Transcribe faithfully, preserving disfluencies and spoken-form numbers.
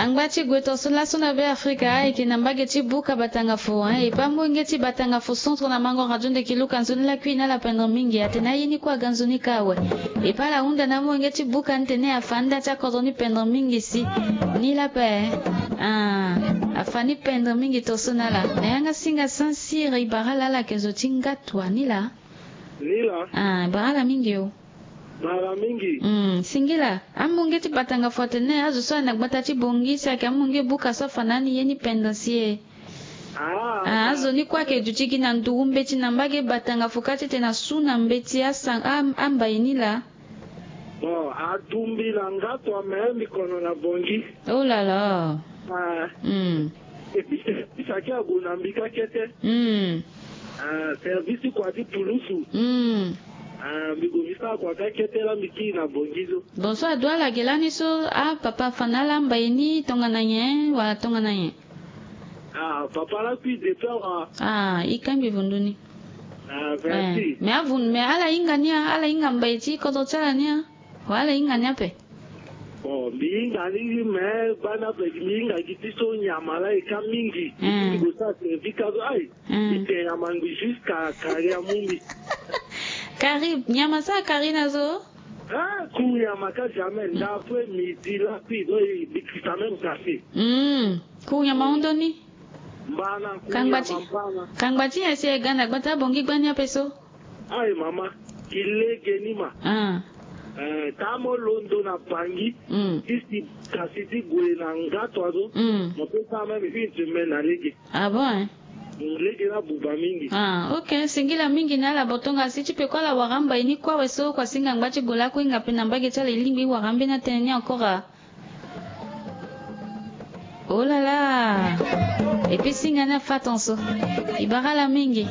Angba ti gue tongaso laso na Be Afrika ayeke na mbage ti buka Batangafu, hein, e pe amolenge ti Batangafu centre na mango radio ndeki Luka nzoni lakui na ala pendre mingi. Atene aye ni kue aga nzoni ka awe. E pe ala hunda na amolenge ti buka ni tene afa nda ti akodro ni pendre mingi si. Ni la pe, ah, afa ni pendre mingi tongaso na ala. Na yanga singa Saint-Cyr e bara ala ala yeke zo ti ngatwa ni la. Ni la. Ah, e bara ala mingi o. Bara mingi. Mm, singila. Amolenge ti Batangafu atene azo so ayeke na gbata ti Bangui si ayeke amolenge buka so afa na ni ye ni pendre si e. Ah, ah, azo ni kue ayeke duti gi na nduru mbeti na mbage Batangafu kâ ti tene asu na mbeti asa, am-, ambai ni la. Bon, atumbi na ngatwa me mbi kono na Bangui. Oh là là. Ah. Mm. Et puis, service ayeke ague na mbi kâ kete. Mm. Ah, service ti kua ti pulusu. Mm. Ah, mbi gue mbi sara kua kâ kete la mbi kiri na Bangui so. Bon, so adu ala ge lani so, ah, papa afa na ala ambai ni tongana nyen wala tongana nyen? Ah, papa lakui depuis awa. Ah, e kangbi vundu ni. Ah, merci. Eh, mais avun, mais ala hinga ni a, ala hinga mbai ti kodro ti ala ni a. Wala ala hinga ni ape. Bon, mbi hinga ni, mais bana ape mbi hinga gi ti so nyama la e ka mingi. Eh. Mbi gue sara service ka so, ayi. Eh. Mbi te nyama ngbi jusqu'à kari amu mbi. Kari, nyama so akari na zo? Ah, ku nyama ka jamais. Nda après midi lakui, donc e bikisa même café. Hmm. Ku nyama hon ndoni? Mbana, ku nyama mbana. Kangba ti, kangba ti nyen si e ga na gbata Bangui gbani ape so? Ayi mama, e lege ni ma. Ah. Eh, ta mo londo na Bangui. Mm. Ti si kasi ti gue na ngatwa so. Mm. Mo peut sara même une semaine na lege. Ah bon, hein? Mm, lege ni abuba mingi. Ah, ok. Singila mingi na ala, bon, tongana si ti peko ala wara mbai ni kue awe so, kua singa ngba ti gue lakue hinga pe na mbage ti ala e lingbi e wara ambeni atënë ni encore a. Oh là là. Et puis singa ni afa tongaso. E bara ala mingi.